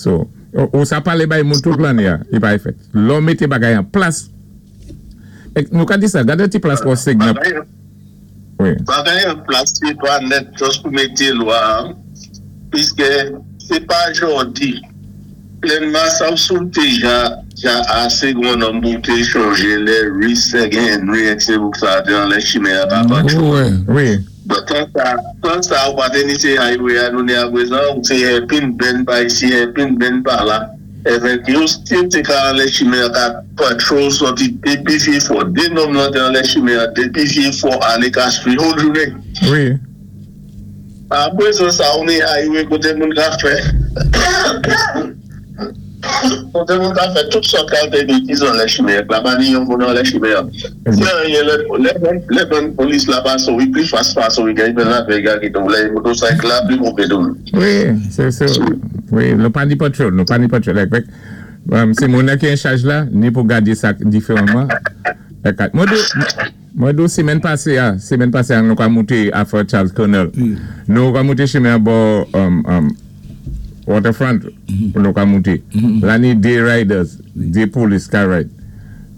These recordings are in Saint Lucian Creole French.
So, ou sa palé bay moun tout lanné a, i pa fèt. Lò mété bagay an plas, èk nou ka di sa, gadé ti plas pou signal. Wi. Bagay an plas sé pa nèt just pou mété lwa, piskè sé pa jòdi. Plenn Massachusetts té ja ja asé gon nonm pou té chonjé lè Reese èk Henry èk sé bouk sa té anlè chimen an pa patrol. Bon tan sa tan sa ou pa té ni sé highway a nou ni aprezan ou sé hairpin bend pa isi hairpin bend pa la èvèk yo still té ka anlè chimen an ka patrol sòti depi Vye Fò 2 nonm lan té anlè chimen an depi Vye Fò alé Castries whole jounen. Aprezan sa ou ni highway kote moun ka fè kote moun ka fè tout sòt kalte betiz anlè chimen an la pa ni yon moun anlè chimen an se anyen lè lè bann polis la pase w li pli fas pase w li gen yon lavèy ga kite w lè motocycle la pli move tou. Wi se se wi nou pa ni patrol nou pa ni patrol èk se moun nan ki an chaj la ni pou gade sa diferanman èk mwen di. Mwen di w semèn pase a, semèn pase a nou ka moute a Fort Charles Colonel. Nou ka moute chimen an bò Waterfront pou nou ka moute. La ni 2 riders, 2 polis ka ride.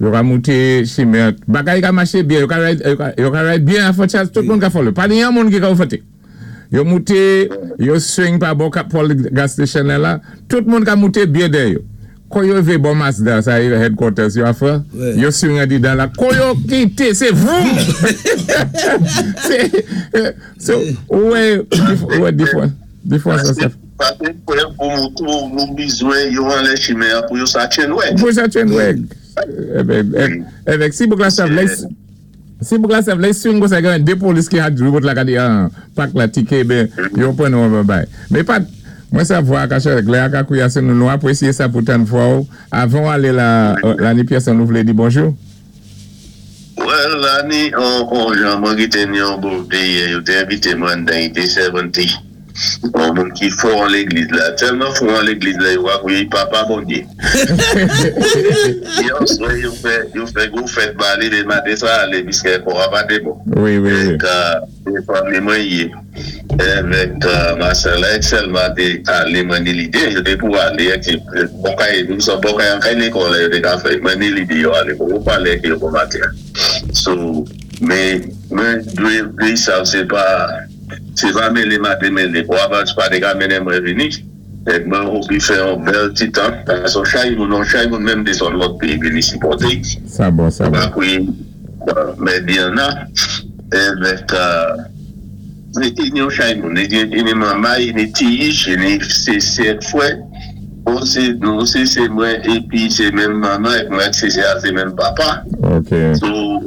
Yo ka moute chimen an, bagay ka mache byen, yo ka ride, yo ka ride byen a Fort Charles, tout moun ka follow. Pa ni yon moun ki ka overtake. Yo moute, yo swing pa bò Paul gas station nan la, tout moun ka moute byen dèyè yo. Kou yo rivé bò Mazda sa yo headquarters yo a frè, yo swing andidan la, kou yo kité sé vroom! Se, so, ou wè, ou wè difwa, difwa sa sa. Sa sé prèv pou moutré w nou bizwen yo anlè chimen an pou yo sa tchenwèg. Pou yo sa tchenwèg. Evèk si bouk la sa vlè. Si bouk la sa vle swing konsa gen 2 polis ki ak dri bot la gade an pak la tike ben yo pran nou an bay men pat mwen sa vwa a ka chanje lè a ka kouya se nou nou apresye sa pou tann vwa ou avan ou ale la la ni pyès an nou vle di bonjou. Well la ni on jan mwen ki te ni on birthday yè yo te envite mwen anndan li te 70. On moun ki fò an legliz la, tèlman fò an legliz la yo ap ri papa Bondye. Yon swè yo fè yo fè gwo fèt ba li men maten sa ale piskè kò a pa te bon. Wi wi wi. Èk se fanmi mwen ye. Evèk Marcel la èk Selma te ale mwen ni lide yo te pou ale èk se bò kay nou sa bò kay an kay lekòl la yo te ka fè mwen ni lide yo ale poko pale èk yo bon maten. So men mwen dwe peyi sa se pa. Se pa mele ma te mele. Wa Vals pa te ka mennen mwen vini. Nèg mwen obi fè yon bèl ti tan. Sa son chay moun, yon chay moun menm te sot lòt peyi vini sipòte. Sa bon, sa bon. Bakwi, Mèdiana, evèk ini yon chay moun. Ini manmay, ini tiyich, ini sese ak frè. Bon se nou se se mwen epi se menm manman ak mwen ak sese a se menm papa. Ok. So.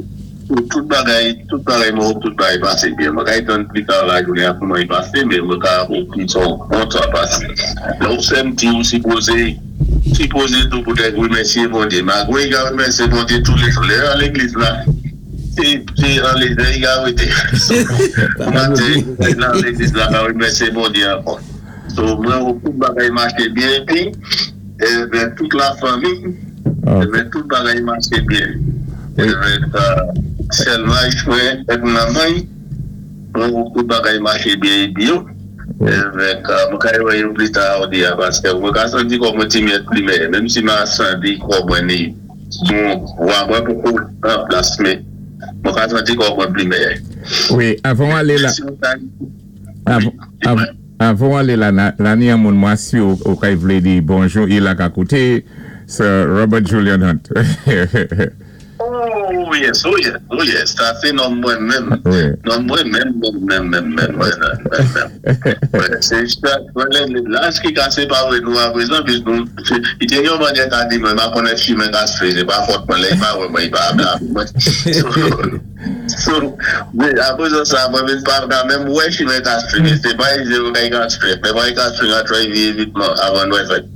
Tout bagay tout bagay mwen hope tout bagay pase byen mwen ka tann pli ta lajounen an pou mwen pase men mwen ka hope li son bon tan pase lè ou fèm di ou sipoze sipoze tou pou tèt remèsye Bondye malgre li ka remèsye Bondye toulejou lè al legliz la se se anlezè li ka rete pou maten nan legliz la ka remèsye Bondye ankò so mwen hope tout bagay mache byen epi Evèk tout la fanmi. Evèk tout bagay mache byen. Evèk sèlmaj mwen èk manman mwen wè tout bagay mache byen epi yo. Evèk mwen ka wè yo pli ta odi a paske mwen ka santi kò mwen ti myèt plimen menm si ma santi kò mwen ni bon vwa mwen poko an plas men mwen ka santi kò mwen plimen. Wi avan w ale la. Avan w ale la la ni yon moun mwa si ou kay vle di bonjou i la ka koute Sir Robert Julian Hunt. Oh yes, oh yes, oh yes, sa se nonm mwen menm, nonm mwen menm menm menm menm menm menm menm menm. Se chak mwen lè laj ki ka separe nou aprezan plis nou, li te gen yon manyè ka di mwen ma konnen chimen ka swe, se pa fòt mwen lè li pa wè mwen li pa blame mwen. So, men aprezan sa mwen vin pa ka menm wè chimen Castrin e se pa ize yo kay Castrin men mwen Castrin a try vye evitman avan nwè fèt.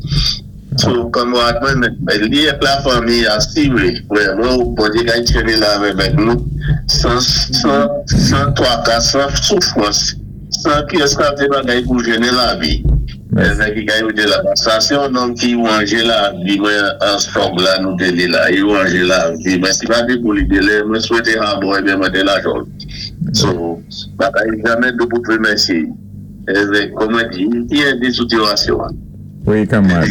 So, kanmarad mwen men li ak la fanmi a sire wè mwen ou Bondye kay tcheni la avèk nou san twaka san soufrans. San pyès kalte bagay pou jennen lavi. Mèzè ki ka yo te la. Sa se yon nonm ki ranje lavi mwen an strong la nou te li la. Li ranje lavi mwen. Si pa te pou li te lè mwen swete ha bon ebyen mwen te lajòl. So bagay jamè dou pou t remèsye. Evèk kòman di ki ede sou tirasyon an. Wi kanmarad.